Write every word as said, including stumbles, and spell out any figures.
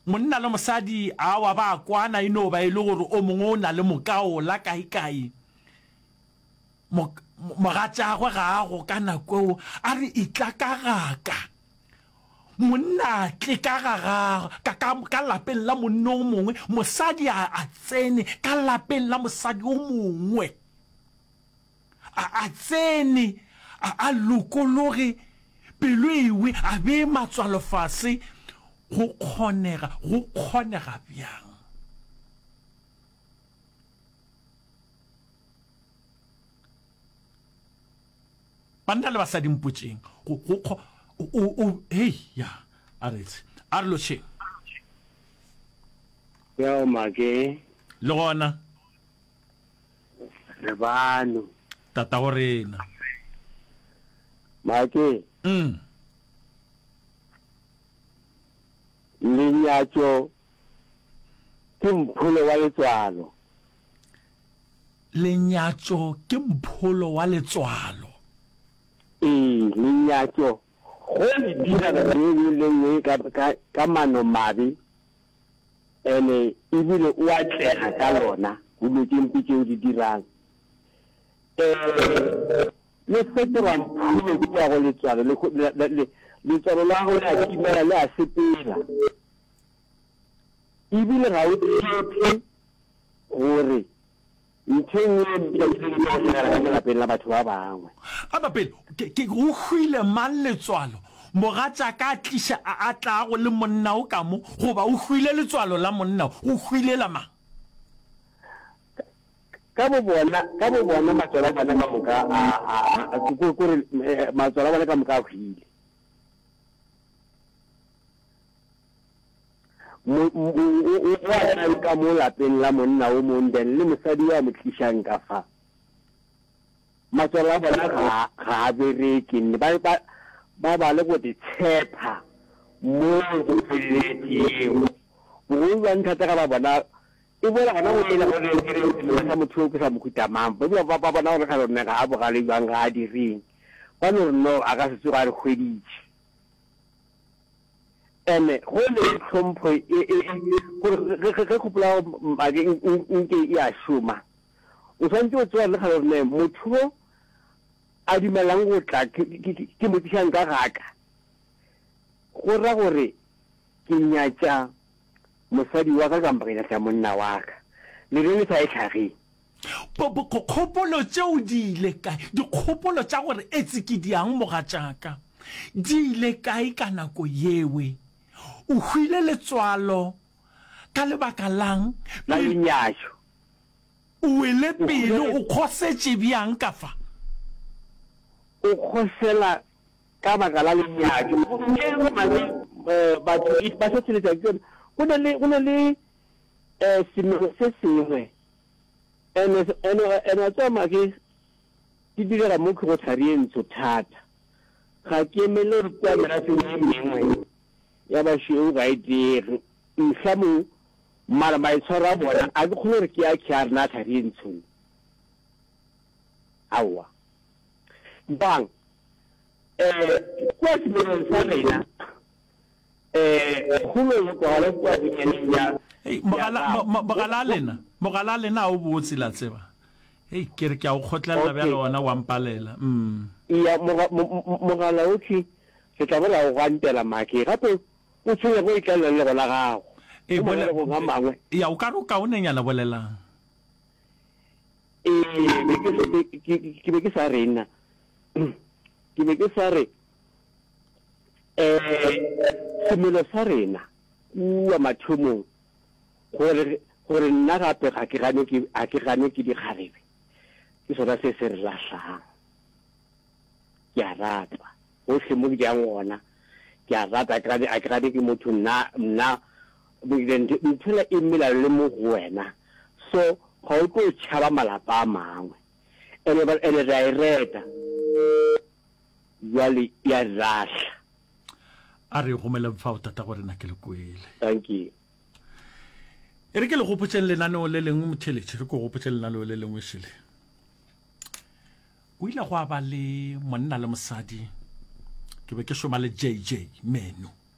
Monna le mosadi awa ba kwana e no ba e le gore o mongwe o na le mokaola kaekae. Mogatšagwe ga a go ka nako eo, a re etla ka gaka. Monna a tle ka ga ga ka ka ka lapeng la monna o mongwe, mosadi a a tsene ka lapeng la mosadi o mongwe. A a tsene, a a lokologe, pelo ewe, a bee matswalo fase. Go kgonega, go kgonega bjang? Banna le basadi mpotšeng, go, go kgo, o, o, hei, ya, a re etse, a re lotšheng. Yo, make. Le gona. Re bano. Tatago rena. Make. Mm. Lenyatšo ke mpholo wa letswalo. Lenyatšo ke mpholo wa letswalo. Ee, lenyatšo go le dira nako ye nngwe le nngwe ka, ka, ka manomabe, ene ebile o atlega ka lona go dilo tše mpe tše o di dirang. Ee, le fetoga mpholo kua go letswalo, le, le, le, letswalo la gago le a timela, le a sepela. Ebile ga o tshepe gore ntho e nngwe e mpe e tlo go hlagela ka mo lapeng la batho ba bangwe. Aba pele, ke, ke, go hwile mang letswalo? Mogatšaka a tliša, a, a tlago le monna o ka mo, goba o hwile letswalo la monna o? Go hwile la mang? Ka, ka bo bona, ka bo bona matswalo a bona ka moka a, a, a, ko, ko re, matswalo a bona ka moka a hwile. Mo, o, o, o, o a tlang ka mo lapeng la monna o mong, then le mosadi yo a mo tlišang ka fa. Matswalo a bona ga, ga a bereke, nne ba, ba, ba ba le go te tshepa mo go feleletšego. Bogolo bja nthata ga ba bona, e boela gona go ela gore ke re semelo sa motho yo ke sa mohuta mang. Ba dula ba, ba bona gore ga rone ga a bogale bjang, ga a direng. Ba no re no, a ka se tsoge a re hweditše. Ene go le tlhompho e, e, e, gore ge, ge, ge kgopolo ya gago make nke e a šoma, o swanetše go tseba le kgale gore ne motho yo a dumelang go tla ke, ke, ke, ke mo tlišang ka gaka, go ra gore ke nyatša mosadi wa ka kampa ke nyatša monna wa ka. Le reng le sa e hlageng? Kgopolo tšeo di ile kae? Dikgopolo tša gore etse ke diang mogatšaka di ile kae ka nako yewe? O hwile letswalo ka lebaka la'ng? La lenyatšo. O wele pele, o kgosetše bjang ka fa? O kgosela ka baka la lenyatšo. Gomme batho ba hlohleletša ke yona. Go na le, go na le semelo se sengwe. Ene, ene, ene wa tseba make, di direga mo ke go thari ye ntsho thata. Ga ke emele gore kua merafeng ye mengwe ya bašweu ga e diege. Mohlamong, mara maitshwaro a bona, a ke kgone gore ke a ke a rena a thari ye ntsho ne. Aowa. Bang, eh, kua semelong sa rena, Eh, kgolo e kwagala kua bonyaneng bja Hei, mogala, mo, mo, mogala a lena, mogala a lena a o botse, la tseba. Hei, ke re ke a o kgotlelela Okay. bjale ona wa mpalela. Mm. Ya, moga, mo, mo, mogala okhwi, re tla bo ra o gwantela make. Gape o tshwenya go e tlalela le lego la gago. Ee, Mo bole, manalegong a mangwe. ya, o ka re o kaonenyana bolelang. Ee, be ke, be, ke, ke be ke sa re nna. Ke be ke sa re. Um semelo sa rena kua mathomong, gore, gore nna gape ga ke gane ke, ga ke gane ke dikgarebe, ke sona se se re lahlang. Ke a ratwa, gohle mo ke yang gona, ke a ratwa, ga ke gane, ga ke gane ke motho, nna, nna, ntho e mela le mo go wena, so ga o tlo tšhaba malapa a mangwe. Ene, ene re a e reta. Bjale ya re lahla. A re gomeleng fao, Tatago rena, ke le kwele. Thank you. E re ke le gopotšeng lenaneo le lengwe, motheeletši, re ko gopotše lenaneo le lengwe šele. O ile gwa ba le monna le mosadi, ke be ke šoma le J J Meno.